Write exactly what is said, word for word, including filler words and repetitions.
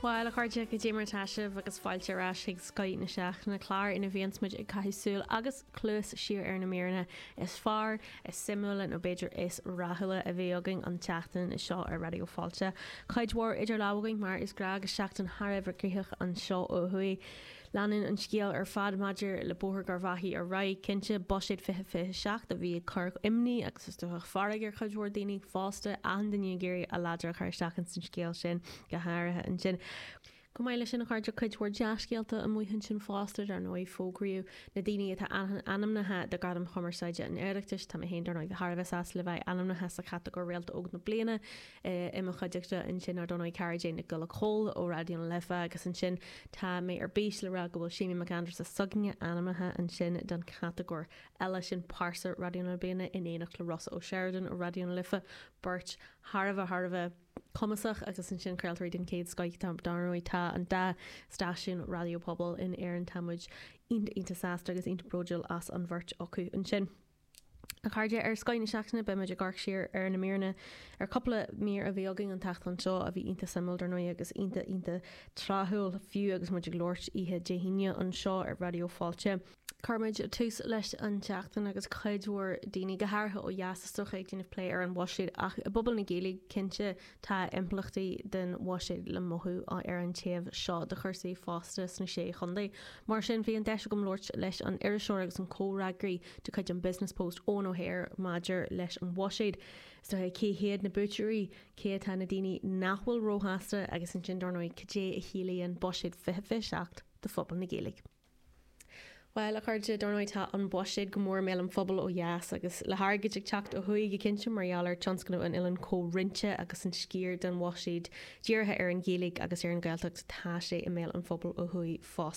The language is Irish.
Bhuel a chairde cad é mar atá sibh agus fáilte ar ais chuig Scoth na Seachtaine clár ina bhíonns muid ag caitheamh súil agus cluas siar ar na míreanna is fearr, is suimiúla nó b'fhéidir is rathúla a bhí againn an tseachtain seo ar Raidió Fáilte. Cuid mhór idir lámha againn mar is gnách agus seachtain thar a bheith gnoitheach anseo ó thuaidh. Leanann an scéal ar fad maidir le Bóthar Gharbhachaidh ar aghaidh cinnte buiséad fiche fiche seacht a bhí ag cur imní agus is dócha fearg ar chuid mhór daoine fosta achan duine ag iarraidh a ladar a chur isteach ins an scéal sin go háirithe ansin. Chomh maith leis sin a chairde cuid mhór dea-scéalta amuigh ansin fosta dar ndóigh fógraíodh na daoine atá ainmnithe do Ghradaim Chumarsáide an Oireachtais tá mé féin dar ndóigh thar a bheith sásta le bheith ainmnithe sa chatagóir Réalta Óg na Bliana i mo chuideachta ansin ar ndóigh cara Jane Nic Giolla Chóill ó Raidió na Life agus ansin tá mé ar bís le rá go bhfuil Séimí Mac Aindreasa s'againne ainmnithe ansin don chatagóir eile sin Pearsa Raidió na Bliana in éineacht le Rossa O'Sheridan ó Raidió na Life beirt thar a bheith thar a bheith cumasach agus ansin craoltóirí den chéad scoth dar ndóigh tá an dá stáisiún raidió pobail in Éirinn tá muid iontach iontach sásta agus iontach bródúil as an bheirt acu ansin. A chairde ar Scoth na Seachtaine beimid ag amharc siar ar na míreanna ar cúpla mír a bhí againn an tseachtain seo a bhí iontach suimiúil dar ndóigh agus iontach iontach tráthúil fiú agus muid ag labhairt oíche Dé hAoine anseo ar Raidió Fáilte. Cuirfimid tús leis an tseachtain agus cuid mhór daoine go háirithe ó dheas is dócha ag déanamh plé ar an bhuiséad ach i bpobal na Gaeilge cinnte tá impleachtaí den bhuiséad le mothú ar an taobh seo de chúrsaí fosta sna sé chontae. Mar sin bhí an deis agam labhairt leis an iriseoir agus an comhfhreagraí de chuid an Business Post Eoin O'Hare maidir leis an bhuiséad. Is dócha cé hiad na buaiteoirí cé atá na daoine nach bhfuil róshásta agus ansin dar ndóigh cad é a chiallaíonn buiséad fiche fiche seacht do phobal na Gaeilge. Well a chairde dar ndóigh tá an buiséad go mór i mbéal an phobail ó dheas agus le hairgead ag teacht ó thuaidh go cinnte mar gheall ar tionscnamh an oileáin comhroinnte agus an sciar den bhuiséad dírithe ar an Ghaeilge agus ar an Ghaeltacht tá sé i mbéal an phobail ó thuaidh fosta.